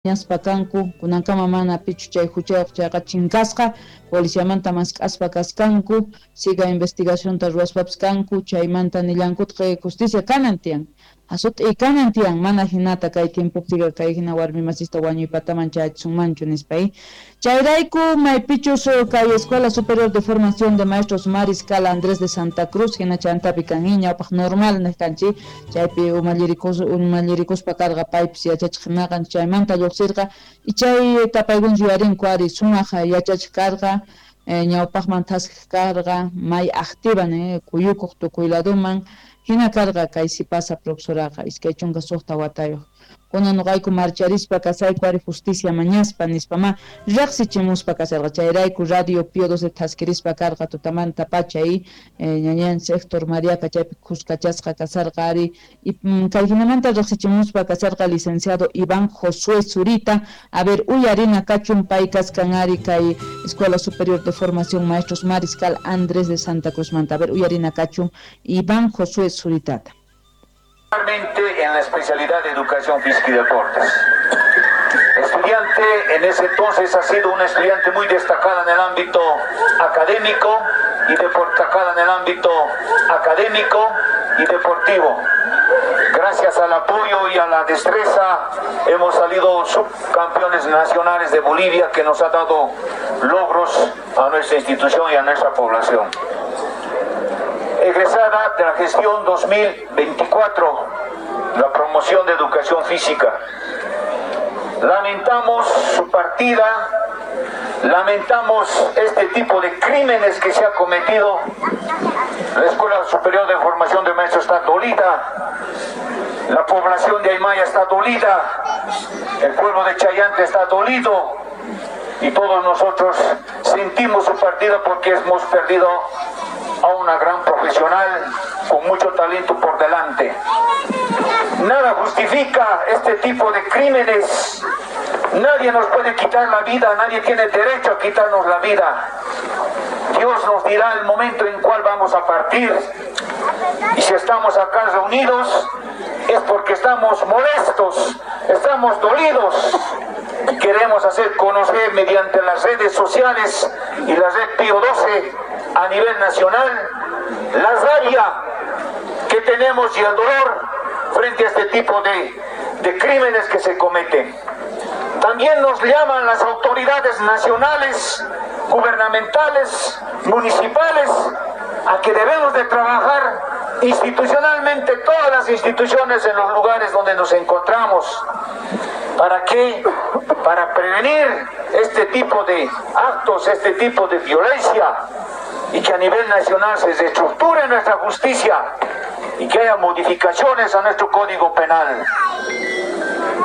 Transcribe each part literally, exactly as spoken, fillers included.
Ñaspa kanku kunankama mana pichu chay huchayuq chayqa chinkasqa policiamanta mask'aspa kaskanku siga investigacionta ruwaspapis kanku chaymanta nillankutaq justicia kanan tiyan asut'i kanan tiyan mana hinata kay tiempopiqa kay hina warmi masista wañuypataman chayachisunmanchu nispa chayrayku maypichus kay Escuela Superior de Formación de Maestros Mariscal Andrés de Santa Cruz hina chantapi kan ñawpaq normal niq kanchik chaypi umallirikus umallirikuspa karqa paypis yachachiq hinaqa chaymanta lluqsirqa y chay tapaykuna yuyarinku ari sumaq yachachiq karqa ñawpaqman thaskiq karqa may activa kuyukuq tukuy laduman hina karqa kay sipasa profesoraqa iskay chunka suqta watayuq kunan nuqayku marcharispa kasayku ari justicia mañaspa nispa ma riqsichimuspa kasarqa chayrayku Radio Pío doce thaskirispa karqa tutamanta pacha y ñañanchik Héctor Mariaqa chaypi khuskachasqa kasarqa ari y kay hinamanta riqsichimuspa kasarqa licenciado Iván Josué Zurita. A ver, uyarina kachun pay kaskan ari kay Escuela Superior de Formación Maestros Mariscal Andrés de Santa Cruz manta. A ver, uyarina kachun Iván Josué Zuritata. En la especialidad de Educación Física y Deportes. Estudiante, en ese entonces ha sido una estudiante muy destacada en el ámbito académico y destacada en el ámbito académico y deportivo. Gracias al apoyo y a la destreza hemos salido subcampeones nacionales de Bolivia, que nos ha dado logros a nuestra institución y a nuestra población. Egresada de la gestión dos mil veinticuatro, la promoción de educación física. Lamentamos su partida, lamentamos este tipo de crímenes que se ha cometido. La Escuela Superior de Formación de Maestros está dolida, la población de Aymaya está dolida, el pueblo de Chayanta está dolido y todos nosotros sentimos su partida porque hemos perdido a una gran profesional con mucho talento por delante. Nada justifica este tipo de crímenes. Nadie nos puede quitar la vida, nadie tiene derecho a quitarnos la vida. Dios nos dirá el momento en cual vamos a partir. Y si estamos acá reunidos es porque estamos molestos, estamos dolidos. Y queremos hacer conocer mediante las redes sociales y la red Pío doce a nivel nacional la rabia que tenemos y el dolor frente a este tipo de, de crímenes que se cometen. También nos llaman las autoridades nacionales, gubernamentales, municipales, a que debemos de trabajar institucionalmente todas las instituciones en los lugares donde nos encontramos. ¿Para qué? Para prevenir este tipo de actos, este tipo de violencia, y que a nivel nacional se reestructure nuestra justicia y que haya modificaciones a nuestro Código Penal.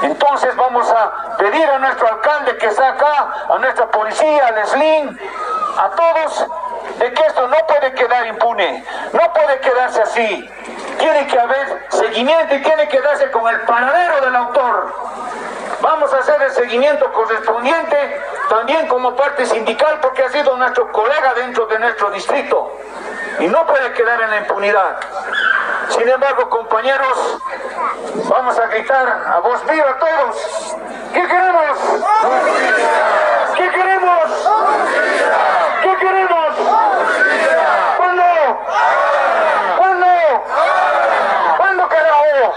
Entonces vamos a pedir a nuestro alcalde que está acá, a nuestra policía, al SLIN, a todos, de que esto no puede quedar impune, no puede quedarse así. Tiene que haber seguimiento y tiene que darse con el paradero del autor. Vamos a hacer el seguimiento correspondiente también como parte sindical, porque ha sido nuestro colega dentro de nuestro distrito y no puede quedar en la impunidad. Sin embargo, compañeros, vamos a gritar a voz viva todos. ¿Qué queremos? ¿Qué queremos? ¿Qué queremos? ¿Cuándo? ¿Cuándo? ¿Cuándo, carajo?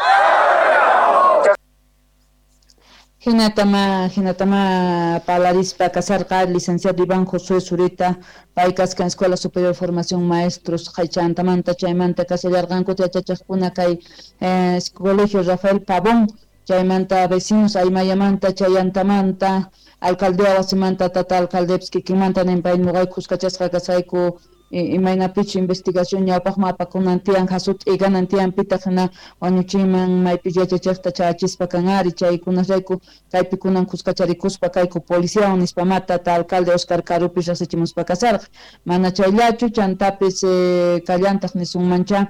Hinatama, hinatama palarispa kasarqa licenciado Iván Josué Zurita, pay kaskan Escuela Superior de Formación Maestros Haychantamanta, chaymanta kasallarqanku yachachaqkuna kay eh, Colegio Rafael Pavón, chaymanta vecinos Aymayamanta, Chayantamanta, alcaldía wasimanta, tata alcaldepis kikinmanta ninpay nuqayku kuskachasqa kasayku imaynapichu investigación ñawpaqman apakunan tiyan hasut'i kanan tiyan pitaq hina wañuchiyman maypi yachachaqta chayachispa kan ari chaykunasrayku kaypi kunan kuskacharikuspa kayku policiawan nispa ma tata alcalde Oscar Karupi riqsichimuspa kasarqa mana chayllachu chantapis eh, kallantaq nisunmancha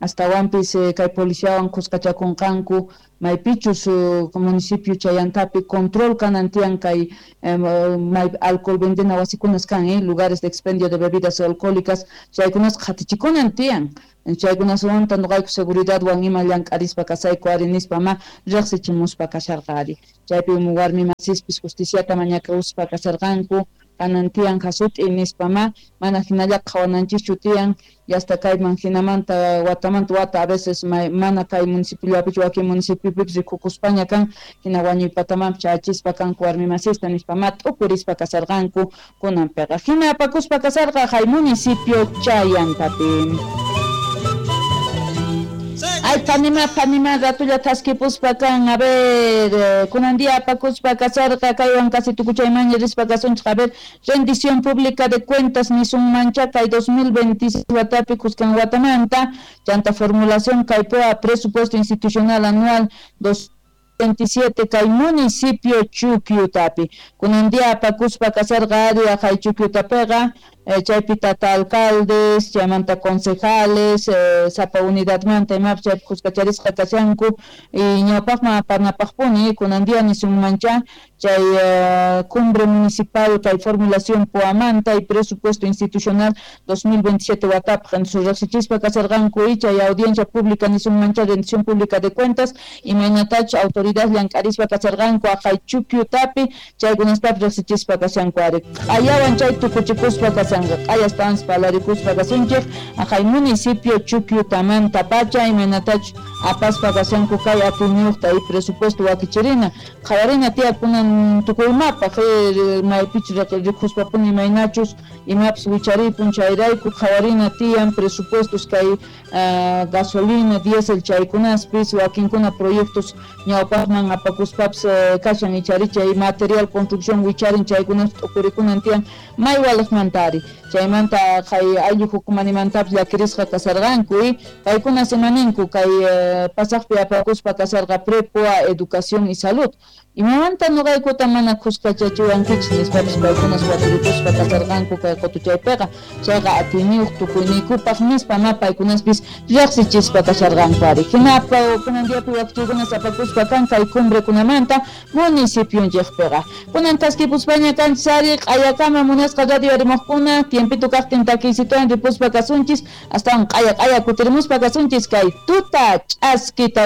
Astawanpis eh, kay policiawan khuskachakunqanku maypichus uh, municipio Chayantapi control kanan tiyan kay eh, may alcohol vendena wasikunas kan eh, lugares de expendio de bebidas alcohólicas chaykunas qhatichikunan tiyan chaykunaswanta nuqayku seguridadwan ima llank'arispa kasayku ari nispa ma riqsichimuspa kasharqa ari chaypi warmi masispis justiciata mañakuspa kasharqanku kanan tiyan jasut'i nispa ma mana hinalla qhawananchischu tiyan yasta kayman hinamanta watamanta wata a veces mana kay municipiollapichu wakin municipiopipas rikukuspaña kan hina wañuypatamanpis chayachispa kanku warmi masista nispa ma t'ukurispa kasharqanku kunanpiqa hina apakuspa kasharqa hay municipio Chayantapi. Ay, panima, panima, ratulla thaskipuspa kan, a ver, eh, kunan día apakuspa kasarqa, kaywan casi tukuchaymanña rispa kasunchik, a ver, rendición pública de cuentas nisunmancha kay dos mil veintiséis watapi kuskan watamanta, chanta formulación kaypoa presupuesto institucional anual dos veintisiete kay municipio Chukyutapi. Kunan día apakuspa kasarqa ari aqhay Chukyutapiqa, eh, chaypi tata alcaldes, chaymanta concejales, eh, sapa unidadmanta imapis chaypi khuskacharisqa kashanku y ñawpaqman apanapaqpuni kunan día nisunmancha chay eh, cumbre municipal kay formulación poamanta y presupuesto institucional dos mil veintisiete watapaq entonces riqsichispa kasharqanku y chay audiencia pública nisunmancha rendición pública de cuentas imaynatach autoridad llank'arispa kasharqanku aqhay Chukyutapi chaykunaspapis riqsichispa kashanku ari q'ayawan chay tukuchikuspa kashanku q'ayastawan palarikuspa kasunchik aqhay municipio Chukyutamanta pacha imaynatach apaspa kashanku kay atiyniyuqta y presupuesto wakichirina qhawarina tiyakunan tukuymapaq maypichu rikuspapuni imaynachus imapis wicharipun chayrayku qhawarina tiyan presupuestos kay uh, gasolina diésel chaykunaspis wakinkuna proyectos ñawpaqman apakuspapis uh, kashan icharicha y material construcción wicharin chaykunas t'ukurikunan tiyan may waliqmanta ari chaymanta kay ayllu hukumanimantapis llakirisqa kasarqanku y paykuna semaninku kay uh, pasaqpi apakuspa kasarqa prepoa educación y salud imamanta nuqaykuta mana khuskachachiwankichis nispapis paykunas waturikuspa kasarqanku kay qutuchaypiqa chayqa atiyniyuq tukuyniykupaq nispa ma paykunaspis riqsichispa kasharqanku ari hinapa kunan diapi wakichiykunas apakuspa kan kay cumbrekunamanta municipionchikpiqa kunan taskipuspaña kanchis ari q'ayakama munasqa radio arimuqkuna tiempito kaqtin takiysituwan ripuspa kasunchis astawan q'aya q'aya kutirimuspa kasunchis kay tuta ch'askita.